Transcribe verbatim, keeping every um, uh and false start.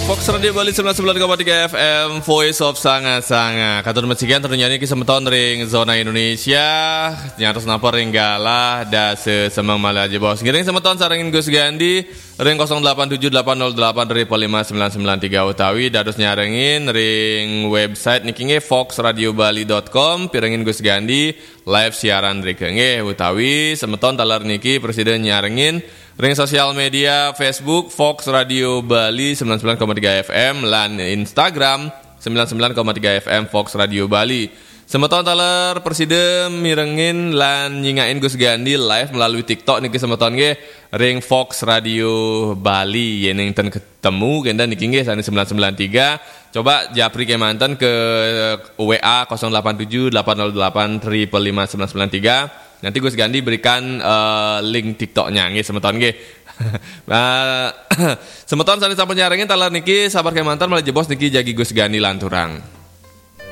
Fox Radio Bali sembilan sembilan koma tiga F M, Voice of Sanga-Sanga. Katur mesikian tentunya niki semeton ring zona Indonesia, nyantos napa ring galah dasa semeng malih jebos. Ngiring semeton sarengin Gus Gandi ring kosong delapan tujuh delapan nol delapan triple lima sembilan sembilan tiga utawi dados nyarengin ring website niki nggih foxradiobali dot com, pirengin Gus Gandi live siaran drika nggih utawi semeton taler niki presiden nyarengin ring sosial media Facebook Fox Radio Bali sembilan sembilan koma tiga F M lan Instagram sembilan sembilan koma tiga F M Fox Radio Bali. Semeton taler presiden mirengin lan nyingakin Gus Gandi live melalui TikTok niki semeton nggih ring Fox Radio Bali, yening ten ketemu kenten niki nggih sane sembilan sembilan tiga. Coba japri kemanten ke W A kosong delapan tujuh delapan nol delapan triple lima sembilan sembilan tiga. Nanti Gus Gandi berikan eh, link TikToknya nggih semeton nggih. Nah, semeton sane sampun nyarengin taler niki sabar kemanten malih jebos niki jagi Gus Gandi lanturang.